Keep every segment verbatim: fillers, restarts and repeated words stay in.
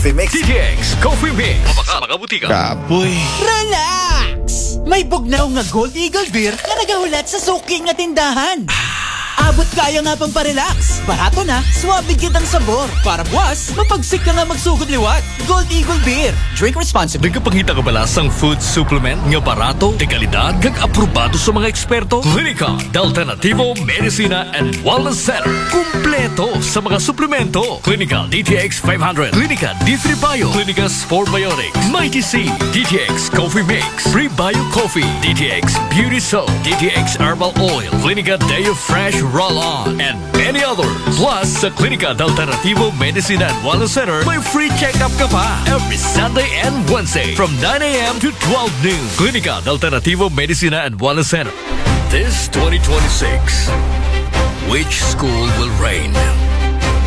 Coffee Mix. D T X Coffee Mix. Sa mga butika. Kapoy. Relax! May bugnaw nga Gold Eagle Beer nga nagahulat sa suki nga tindahan. Abot kaya nga pang parelax. Barato na, suabe gyud ang sabor. Para buwas, mapagsik ka nga magsugod liwat. Gold Eagle Beer. Drink responsibly. Nagapangita ka ba sa food supplement nga barato, de kalidad, kag aprobado sa mga eksperto? Klinika de Alternativo Medicina and Wellness Center. Kumpleto sa mga suplemento. Klinika D T X five hundred, Klinika D three Bio, Klinika Sport Biotics, Mighty C, D T X Coffee Mix, Prebio Coffee, D T X Beauty Soap, D T X Herbal Oil, Klinika Deo Fresh Roll-On, and many others. Plus, sa Klinika de Alternativo Medicina and Wellness Center, may free check-up ka pa every Sunday and Wednesday from nine a.m. to twelve noon. Klinika de Alternativo Medicina and Wellness Center. This twenty twenty-six, which school will reign?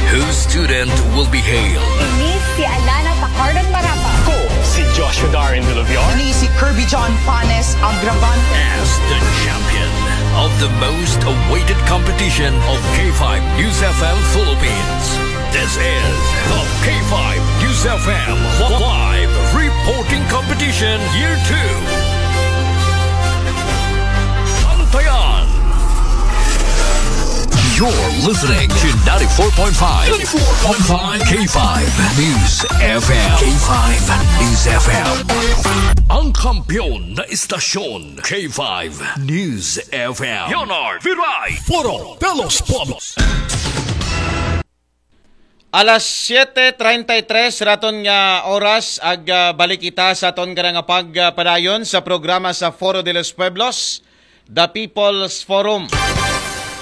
Whose student will be hailed? Ini si Alana Pacardo Marapa. Ko si Joshua Darin Dulubion. Ini si Kirby John Panes Agravan. As the champion of the most awaited competition of K five News F M Philippines. This is the K five News F M Live Reporting Competition Year two. Bantayan. You're listening to ninety-four point five, ninety-four point five K five News F M. K five News F M. Ang kampiyon na istasyon, K five News F M. Leonard Viray. Foro de los Pueblos. Alas siete treinta y tres raton nga oras, ag ah, balik kita sa aton karang pagpadayon sa programa sa Foro de los Pueblos, The People's Forum.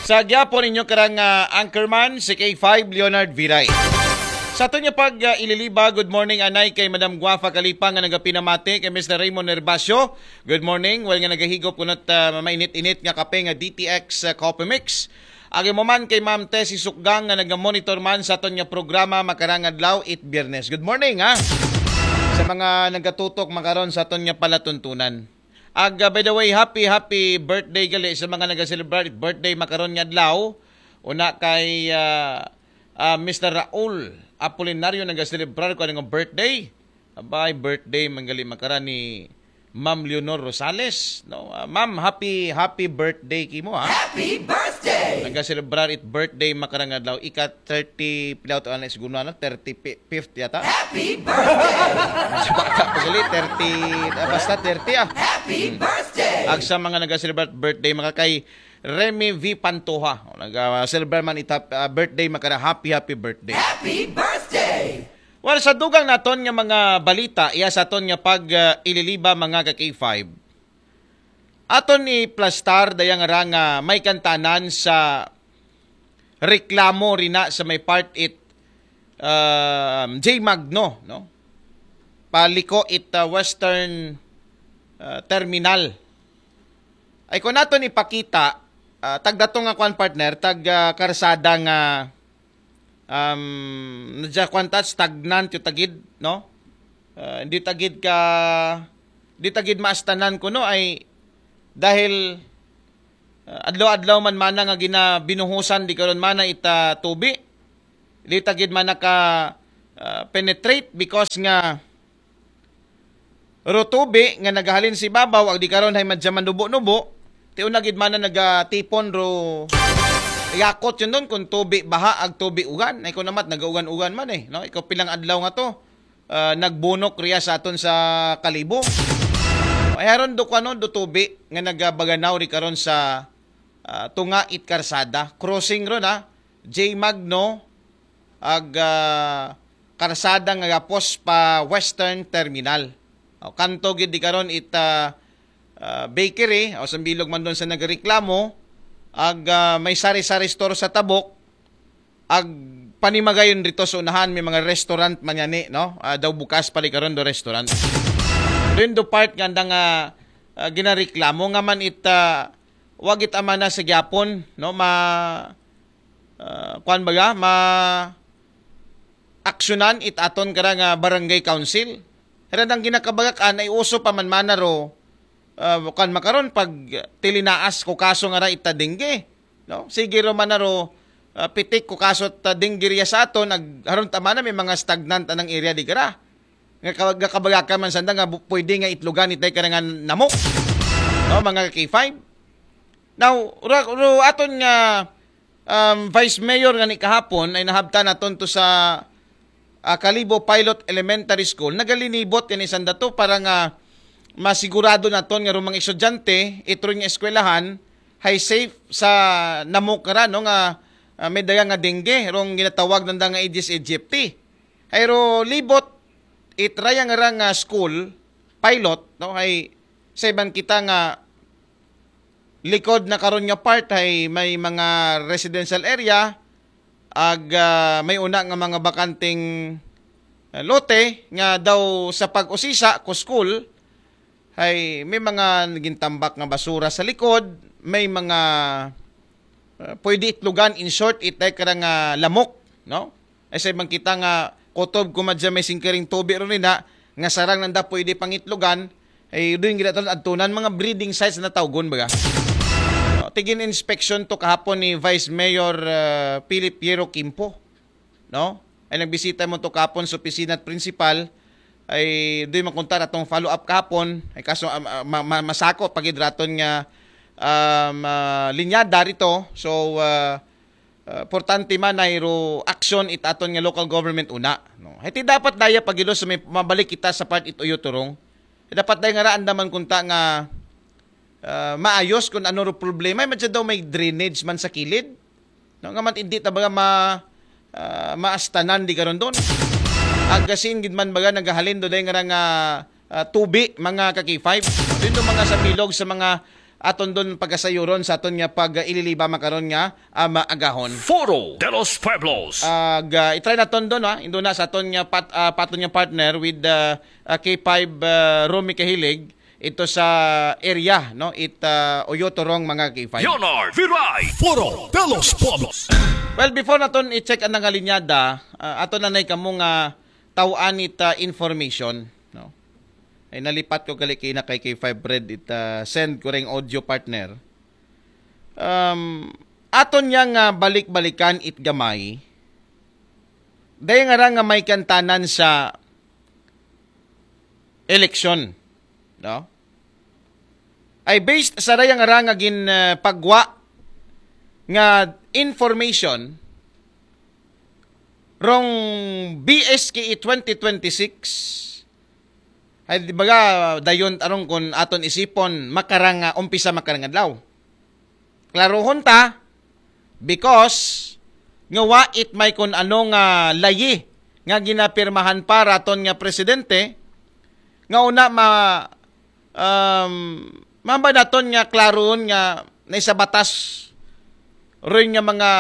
Sa gyapon ninyo karang ah, anchorman, si K five Leonard Viray. Sa aton nga pag ah, ililiba, good morning anay kay Madam Guafa Kalipa nga nagapinamati, kay Mister Raymond Nerbacio. Good morning. Well, nga nagahigop kunot ah, mainit-init nga kape nga D T X ah, Coffee Mix. Agi mo man kay Ma'am Tessie Sukgang nga naga-monitor man sa aton nga programa makarang adlaw it Biyernes. Good morning, ha. Sa mga nagatutok makaron sa aton nga palatuntunan. Ag ah, by the way, happy happy birthday gali sa mga naga-celebrate birthday makaron nga adlaw. Una kay ah, ah, Mister Raul Apolinario, naga-celebrate ko nga birthday. Abay, birthday man gali makaron ni Ma'am Leonor Rosales, no? Ah, ma'am, happy happy birthday kimo, ha. Happy birthday. Naga-celebrate it birthday makarang adlaw, ika thirty, pilaw to, ano, siguro, ano, thirty-fifth yata. Happy birthday. Sa baka pa gali, thirty, ah, basta thirty, ah. Happy birthday. Ag sa mga naga-celebrate birthday, maka kay Remy V Pantoja, naga-celebrate man it ah, birthday, makara happy happy birthday. Happy birthday. Well, sa dugang naton nga mga balita, iya sa aton nga pag ah, ililiba, mga ka K five. Aton iplastar dayang ra nga may kantanan sa reklamo rina sa may part it ah, J Magno, no? Paliko it ah, Western ah, Terminal. Ay kung naton ipakita, ah, tagdato nga kwan, partner, tag ah, karsada nga um, nadya kwan ta, stagnant yung tagid, no? Ah, hindi tagid ka, hindi tagid maastanan kuno ay dahil ah, adlaw-adlaw man mana nga ginabinuhusan di karon mana ita tubi. Hindi tagid mana ka ah, penetrate because nga ro tubi nga nagahalin sa ibabaw, ag di karon hay madya manubo-nubo, ti una gid mana nagatipon ro yakot yun doon kung tubi baha ag tubi ugan. Ay ko namat, nagaugan-ugan man eh, no? Ikaw pilang adlaw nga to, ah, nagbunok riya sa aton sa Kalibo. Ay haron do kuno do tubi nga nagabaganaw ri karon sa ah, tunga it karsada. Crossing ron, ha? J Magno, ag ah, karsada nga gapos pa Western Terminal. O, kanto gid di karon it ah, ah, bakery, o sambilog man doon sa nagreklamo, ag ah, may sari-sari store sa tabok, ag panimagayon rito sa unahan, may mga restaurant man yani, no? Ah, daw bukas pa di karon do restaurant. Doon do part nga andang ah, ah, ginareklamo nga man it ah, wagit amana sa gyapon, no? Ma ah, kwan baga, ma aksyonan it aton kara nga barangay council. Hera dang ginakabagakan ay uso pa man mana ro ah, kwan makaron pag tilinaas ko kaso nga ra ita dengue, no? Sige ro man na ro ah, pitik ko kaso ta dengue riya sa aton, ag, haron tama na may mga stagnant anang area di kara. Nga ka-, gakabagakan man sanda nga bu-, pwede nga itlogan itay kara nga namok. No, mga K five. Now, ro, ro aton nga, um, Vice Mayor nga ni kahapon ay nahabtan naton to sa, ah, Kalibo Pilot Elementary School, nagalinibot kani sanda to para nga masigurado naton nga rumang estudyante, itron nga eskwelahan, hay safe sa namok ra, no, nga, ah, may daga nga dengue, rong ginatawag nanda nga Aedes aegypti. Hay ro libot, itraya nga ra nga school, pilot, no, hay sa iban kita nga likod na karon nga part hay may mga residential area, ag, ah, may una nga mga bakanteng, ah, lote nga daw sa pag-usisa ko school, hay may mga naging tambak nga basura sa likod, may mga, ah, pwede itlogan, in short, itay kara nga lamok, no? Ay sa ibang kita nga kutob kumadya may singkiring tubi ron na, nga sarang nanda pwede pangitlogan, ay doon ginaton adtunan mga breeding sites na tawgon baga. No? Tigin inspection to kahapon ni Vice Mayor, ah, Philip Piero Kimpo, no? Ay nagbisita mo to kahapon sa opisina at principal, ay doon makunta atong follow up kahapon, ay kaso, ah, ah, ma-, ma-, masako pagidraton nga, um, ah, linyada rito. So, ah, ah, importante man ay ro action it aton nga local government una, no? Hiti dapat daya pagilos sa may mabalik kita sa part it Oyoturong. Dapat daya nga raan naman kunta nga, ah, maayos kung ano ro problema. Ay, madya daw may drainage man sa kilid. No, nga man, hindi ta baga ma-, ah, maastanan di karon doon. Agasin gid man baga nagahalin do dahil nga nga, ah, tubi, mga ka-K five. Doon do mga sa bilog sa mga aton doon pagkasayuron sa aton nga pag-ililiba makaron nga, ah, maagahon. Foro de los Pueblos. Ag, ah, itry naton doon, ha. Indo na sa aton nga pat-, ah, paton nga partner with, ah, ah, K five, ah, Romy Kahilig, ito sa area, no? It, ah, Oyotorong, mga K five. Leonard Viray. Foro de los Pueblos. Well, before naton i-check ang nangalinyada, ah, ato na nay kamo nga tawaan it, ah, information, no? Ay nalipat ko gali kay na kay K five Red it, ah, send ko ring audio partner. Um, aton niya nga balik-balikan it gamay. Dahil nga ra nga may kantanan sa eleksyon, no? Ay based sa raya nga ra nga gin, ah, pagwa nga information rong B S K E twenty twenty-six, ay di baga dayon tarong kun aton isipon makarang, ah, umpisa makarang adlaw. Klaruhon ta, because nga wa it may kun ano nga layi nga ginapirmahan pa raton nga presidente, nga una ma-, um, mamba naton nga klaruhon nga na sa batas rin nga mga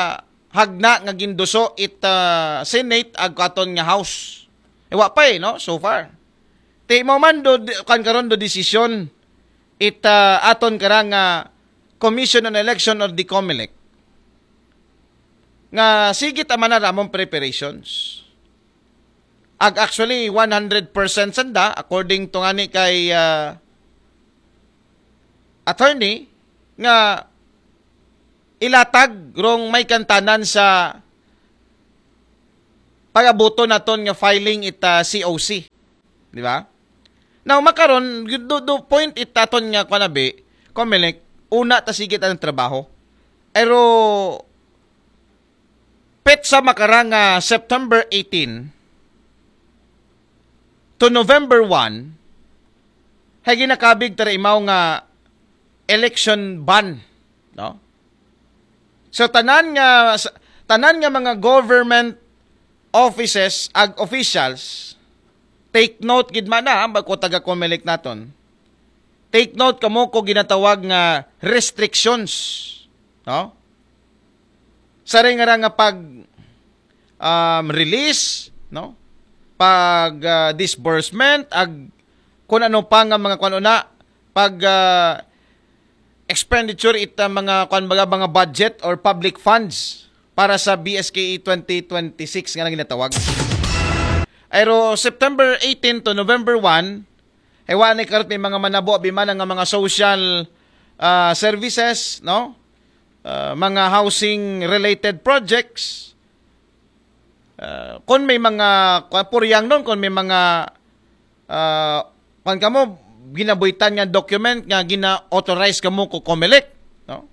hagna nga ginduso it, ah, Senate ag katon nga House. E, wa pa eh, no? So far. Ti mo man do, kan karon do desisyon it, ah, aton karang, ah, Commission on Election or the COMELEC nga sige ta man na ramong preparations. Ag actually, one hundred percent sanda, according to ngani kay, ah, attorney, nga ilatag rong may kantanan sa pagabuto naton nga filing it, ah, C O C. Di ba? Now, makaron, do, do point it aton nga kanabi, COMELEC, una ta sige ta ang trabaho. Pero, petsa makarang nga September eighteen to November one, hay ginakabig tara imaw nga election ban, no? So, tanan nga, s-, tanan nga mga government offices ag officials, take note gid man na, ha, bago taga COMELEC naton. Take note kamo ko ginatawag nga restrictions, no? Sa ring nga ra nga pag, um, release, no? Pag, ah, disbursement, ag kung ano pa nga mga kuan una, pag, ah, expenditure it, ah, mga kuan baga, mga budget or public funds para sa B S K E twenty twenty-six nga nang ginatawag. Pero September eighteen to November one, ay wa na karot may mga manabo, abi man nga mga social, ah, services, no? ah, mga housing-related projects. Ah, kung may mga, kuwan, puryang nun, kung may mga, ah, kuwan ka mo, ginabuhitan nga document nga gina-authorize ka mo ko Comelec, no?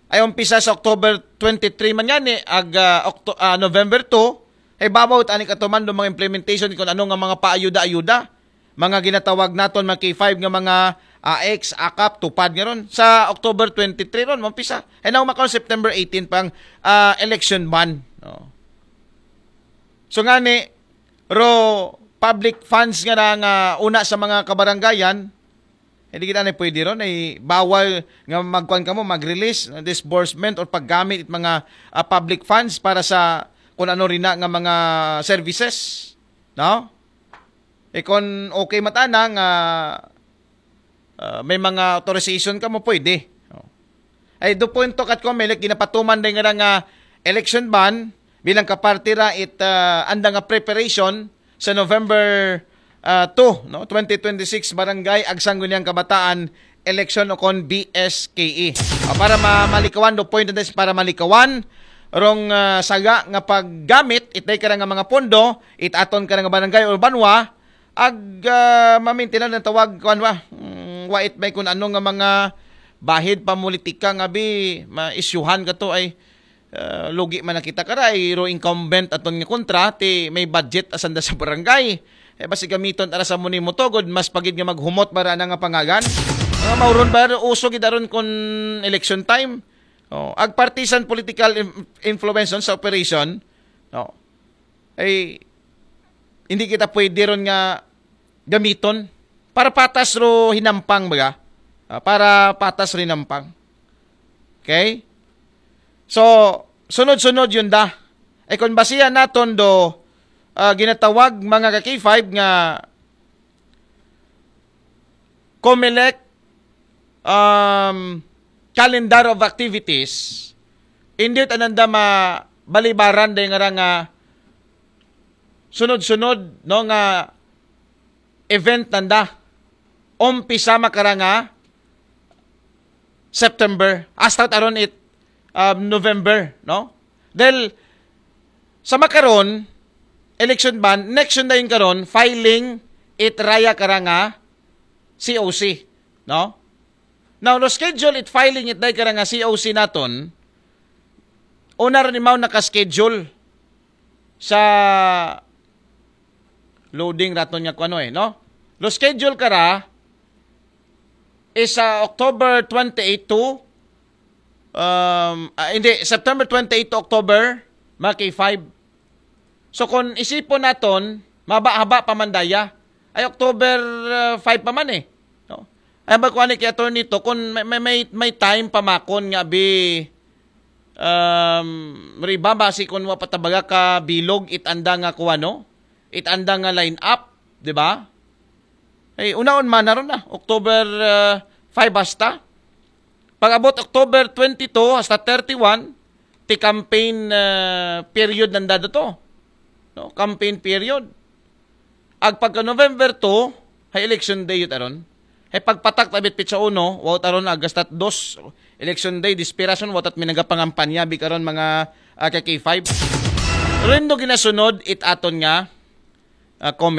Ay umpisa sa October twenty-three man gani, ag, ah, Octo-, ah, November two, ay babaw tani ka tumando mga implementation kung ano nga mga paayuda-ayuda, mga ginatawag naton mga K five nga mga A X, akap, tupad nga ron. Sa October twenty-three ron, umpisa. Ay now makaon September eighteen pang, ah, election ban, no? So ngani, ro public funds nga na nga una sa mga kabarangayan, hindi kita na pwede ron, ay bawal nga magkuan ka mo, mag-release, disbursement or paggamit it mga, ah, public funds para sa kung ano rin na nga mga services, no? E kung okay matana nga, ah, may mga authorization ka mo, pwede. Oh. Ay do point to kat Comelec, ginapatuman din nga nga election ban bilang kaparte ra it, ah, anda nga preparation sa November, ah, two, no, twenty twenty-six Barangay ag Sangguniang Kabataan election o kon B S K E. Ah, para ma-, malikawan do point this, para malikawan rong, ah, saga nga paggamit itay ka nga mga pondo, it aton ka nga barangay o banwa, ag, ah, mamintinan ang tawag, kuwan ba? Mm, wait may kung ano nga mga bahid pamulitika nga bi, ma-issuehan ka to ay, ah, lugi man na kita karay, ro incumbent aton nga kontra, ti may budget asanda sa barangay. Eh, basi gamiton ara sa muni mo to, gud, mas pagid nga maghumot bara na nga pangagan. Nga mauron ba, uso gid aron kun election time. Oh, ag partisan political in-, influence sa operation. No. Ay, hindi kita pwede ron nga gamiton para patas ro hinampang, baga? Ah, para patas ro hinampang. Okay? So, sunod-sunod yun da. Ay kung basihan naton do, ah, ginatawag mga ka K five nga Comelec, um, calendar of activities, hindi ananda mabalibaran day nga ra nga sunod-sunod, no, nga event nanda. Umpisa makara nga September, hasta aron it, um, November, no? Dahil sa makaron, election ban, next yun dayon karon, filing it raya kara nga C O C, no? Now, no schedule it filing it day kara nga C O C naton, una ron imaw naka-schedule sa loading raton nga kuno eh, no? Lo schedule kara is sa October twenty-eight to, um, ah, hindi, September twenty-eight to October, mga K five. So kung isipon naton, maba-haba pa man daya. Ay October, ah, five pa man eh. No? Ay ba kuan ni kay attorney to kung may, may, may, may time pa makon nga bi, um, riba ba si kung wa patabaga ka bilog it anda nga kuan, no? It anda nga line up, di ba? Ay unaon man na ron na, October, ah, five hasta. Pag abot October twenty-two hasta thirty-one, ti campaign, ah, period nanda to. No? Campaign period. Ag pagka November two, hay election day yun aron. Hay pagpatak tabit pitsa uno, wa aron ag hasta dos, election day, desperation, wa tat minagapangampanya, bi karon mga, ah, ka K five. Rindo ginasunod it aton nga, ah, Comelec.